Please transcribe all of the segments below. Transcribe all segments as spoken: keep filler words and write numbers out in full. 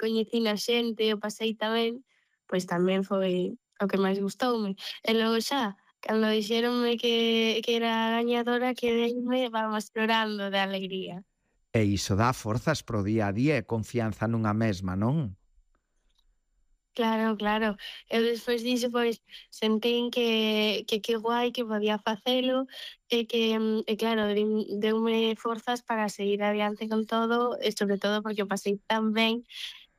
coñecín a xente, o pasei tamén, pois tamén foi o que máis gustoume. E logo xa, cando dixéronme que que era a gañadora, quedeime, vamos, chorando de alegría. E iso dá forzas para o día a día e confianza nunha mesma, non? Claro, claro. Eu despois diso, pois, sentín que que que guai que podía facelo e que, mm, e claro, din deume forzas para seguir adiante con todo e sobre todo porque o pasei tan ben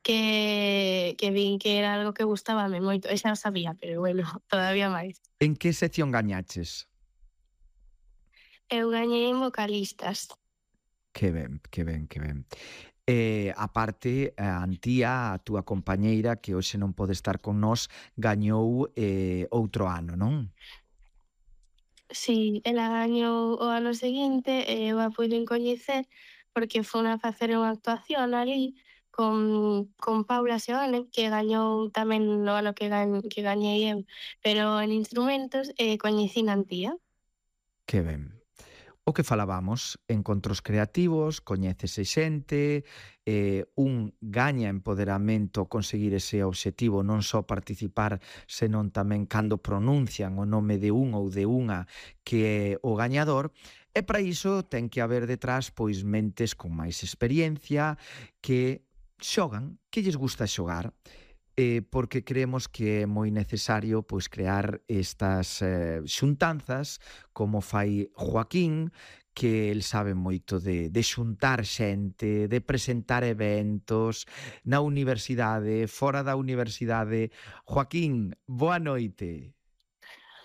que que vin que era algo que gustábame moito. E xa o sabía, pero bueno, todavía máis. En que sección gañaches? Eu gañei en vocalistas. Que ben, que ben, que ben. E, a parte, a Antía, a túa compañeira, que hoxe non pode estar con nós, gañou eh, outro ano, non? Si, ela gañou o ano seguinte e eu a puiden coñecer porque fun a facer unha actuación alí con con Paula Seoane, que gañou tamén no ano que gan que gañei eu, pero en instrumentos, e coñecín a Antía. Que ben. O que falabamos, encontros creativos, coñécese xente, eh, un gaña empoderamento conseguir ese obxectivo, non só participar, senón tamén cando pronuncian o nome de un ou de unha que é o gañador, e para iso ten que haber detrás pois mentes con máis experiencia que xogan, que lles gusta xogar, eh, porque creemos que é moi necesario pois crear estas eh, xuntanzas como fai Joaquín, que el sabe moito de, de xuntar xente, de presentar eventos na universidade, fora da universidade. Joaquín, boa noite.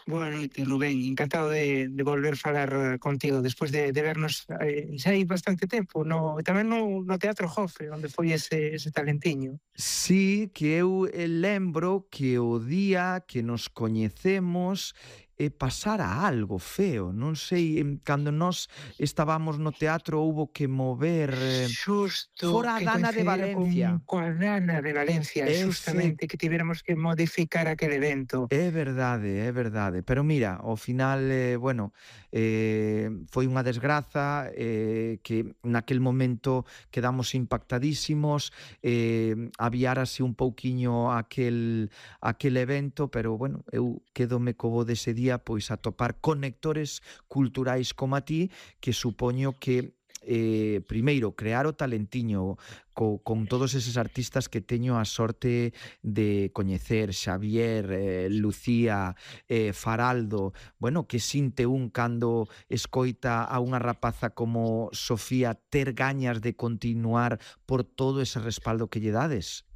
Boa noite, Rubén. Encantado de, de volver a falar contigo despois de, de vernos eh, xa hai bastante tempo, no, tamén no, no Teatro Jofre, onde foi ese, ese talentiño. Sí, que eu eh, lembro que o día que nos coñecemos e pasara algo feo, non sei, em, cando nós estábamos no teatro houbo que mover eh, Xusto, fora a que Dana de coincidira Valencia. con coa Nana de Valencia, Efe xustamente, que tivéramos que modificar aquel evento. É verdade, é verdade, pero mira, ao final, eh, bueno, eh, foi unha desgraza, eh, que naquel momento quedamos impactadísimos, eh, aviárase un pouquiño aquel, aquel evento, pero bueno, eu quedome co bo dese día, pois a topar conectores culturais como a ti, que supoño que eh, primeiro, crear o talentiño co, con todos eses artistas que teño a sorte de coñecer, Xavier, eh, Lucía, eh, Faraldo, bueno, que sinte un cando escoita a unha rapaza como Sofía ter gañas de continuar por todo ese respaldo que lle dades?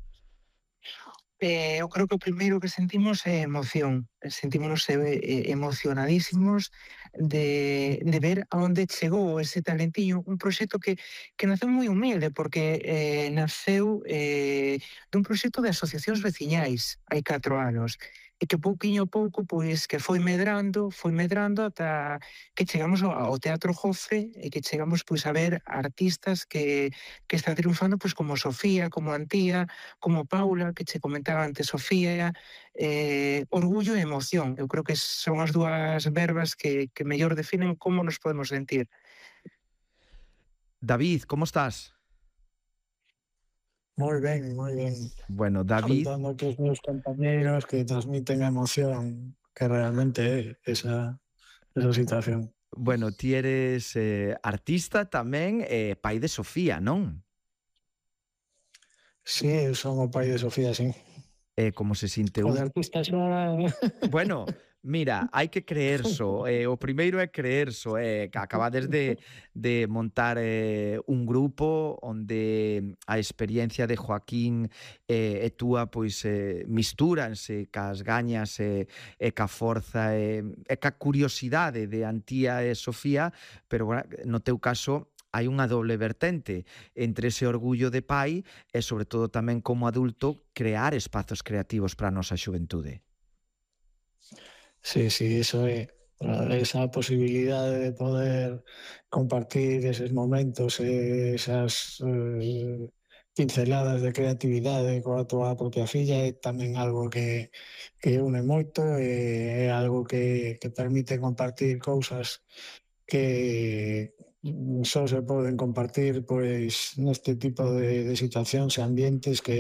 Eh, eu creo que o primeiro que sentimos é emoción. Sentímonos eh, emocionadísimos de, de ver a onde chegou ese talentiño, un proxecto que, que naceu moi humilde, porque eh, naceu eh, dun proxecto de asociacións veciñais hai catro anos, e que pouquiño a pouco, pois, que foi medrando, foi medrando ata que chegamos ao, ao Teatro Jofre e que chegamos, pois, a ver artistas que, que están triunfando, pois, como Sofía, como Antía, como Paula, que che comentaba antes Sofía, eh, orgullo e emoción. Eu creo que son as dúas verbas que, que mellor definen como nos podemos sentir. David, como estás? Moi ben, moi ben. Bueno, David... Escoitando que os meus compañeros que transmiten a emoción que realmente é esa, esa situación. Bueno, ti eres eh, artista tamén e eh, pai de Sofía, non? Sí, eu son o pai de Sofía, sí. Eh, como se sinte O un... de artista xa... Bueno, mira, hai que creerso. Eh, o primeiro é creerso. Eh, que acabades de, de montar eh, un grupo onde a experiencia de Joaquín eh, e túa pois eh, mistúranse cas gañas e, e ca forza e, e ca curiosidade de Antía e Sofía, pero bueno, no teu caso hai unha doble vertente entre ese orgullo de pai e, sobre todo, tamén como adulto, crear espazos creativos para a nosa xuventude. Sí, sí, eso é esa posibilidade de poder compartir eses momentos e esas eh, pinceladas de creatividade coa tua propia filla é tamén algo que, que une moito e é algo que, que permite compartir cousas que só se poden compartir pois neste tipo de, de situacións e ambientes que